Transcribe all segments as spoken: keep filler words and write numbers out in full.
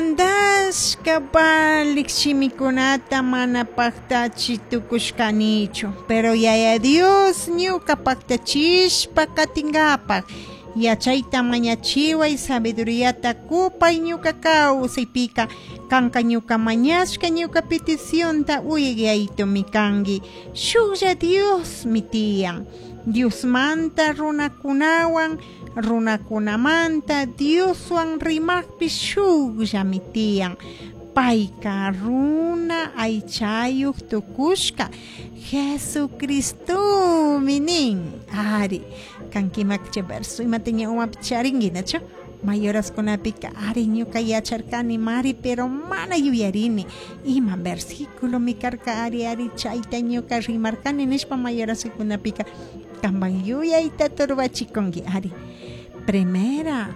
Mandashka valik shimikunata mana paktachi tukushkanichu, pero Yaya Dios ñuka paktachishpa katinkapak yachayta mañachiway, sabiduriata kupay ñuka kawsaypika, kanka ñuka mañashka ñuka peticionta uyayaytumi kanki. Shuklla Diosmi tiyan. Diosmanta runakunawan, runakunamanta Dioswan rimaqpi shukllami tiyan. Payka runa aychayuq tukushka Jesucristomi nin. Ari, kankimakcha verso imata ña umapi charinki, nachu? Mayoraskunapika ari ñuka yacharkani mari, pero mana yuyarini ima versículo mi karka, ari ari chayta ñuka rimarkani nishpa mayoraskunapika kanpan yuyayta turbachikunki. Ari, primera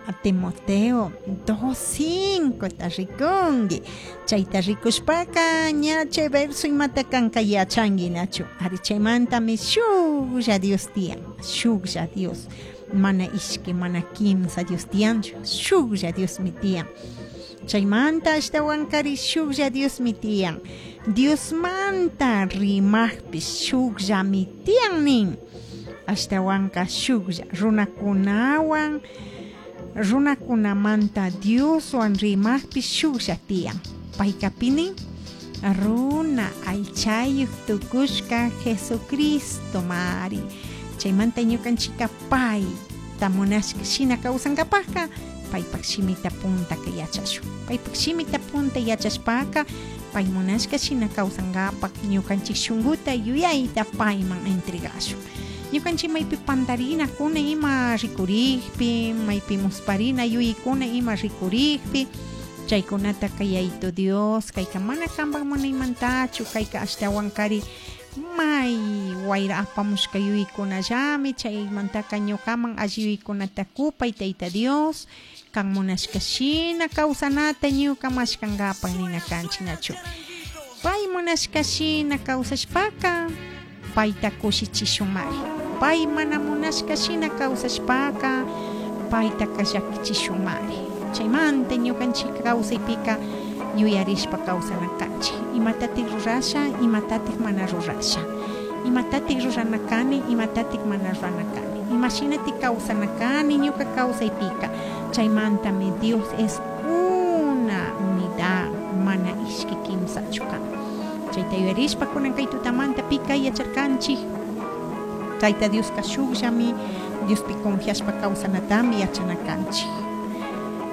a Timoteo dos cinco ta rikunki, chayta rikushpaka ña chay verso imata kanka yachanki, nachu? Ari, chaymantami shuklla Dios tiyan, shuklla Dios, mana ishki mana kimsa Dios tiyanchu, shuklla Diosmi tiyan. Chaymanta ashtawankari shuklla Diosmi tiyan. Diosmanta rimaqpish shukllami tiyan nin. Ashtawanka shuklla runakunawan, runakunamanta Dioswan rimaqpish shuklla tiyan. Payka pinin runa aychayuq tukushka Jesucristo mari. Chaymanta ñukanchika payta munashka shina kawsankapajka paypak shimita puntaka yachashun. Paypak shimita punta yachashpaka pay munashka shina kawsankapak ñukanchik shunkuta yuyayta payman entregashun. Ñukanchik maypi pantarinakuna ima rikurikpi, maypi musparina yuyaykuna ima rikurikpi, chaykunata kayayto Dios, kayka mana kanpak munaymantachu, kayka ashtawankari may wayra apamushka yuyaykunallami, chaymantaka ñukaman alli yuyaykunata kupay Tayta Dios, kan munashka shina kawsanata ñuka mashkankapak nina kanchik, nachu? Pay munashka shina kawsashpaka payta kushichishunmari. Pay mana munashka shina kawsashpaka paytaka llakichishunmari. Chaymanta ñukanchik kawsaypika yuyarishpa kawsana kanchik. Imatatik rurasha, imatatik mana rurasha. Imatatik rurana kani, imatatik mana rurana kani. Imashinatik kawsana kani ñuka kawsaypika. Chaymantami Dios es una unidad, mana ishki kimsachu kan. Chayta yuyarishpa kunan kay tutamanta pika yacharkanchik. Tayta Dioska shukllami, Diospi confiashpa kawsanatami yachana kanchik.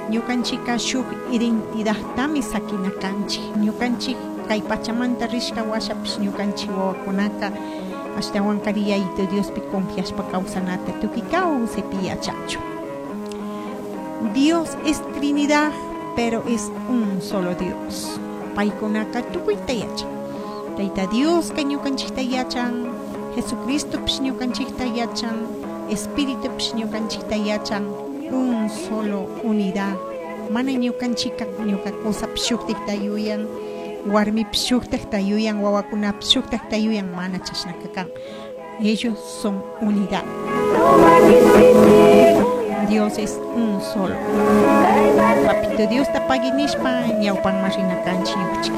Ñukanchika shuk identidadtami sakina kanchik. Ñukanchik kay pachamanta rishka washapish ñukanchik wawakunaka ashtawankari Yayito Diospi confiashpa kawsanata tukuy kawsaypi yachachu. Dios es Trinidad, pero es un solo Dios. Paykunaka tukuyta yachan. Tayta Dioska ñukanchikta yachan, Jesucristopish ñukanchikta yachan, Espiritupish ñukanchikta yachan, un solo unidad. Mana ñukanchika ñuka kusapish shuktikta yuyan, warmipish shuktakta yuyan, wawakunapish shuktakta yuyan, mana chashnaka kan. Ellos son unidad. Dios es un solo. Papito Dios ta pagui nishpa ñawpanman rina kanchik ñukanchik.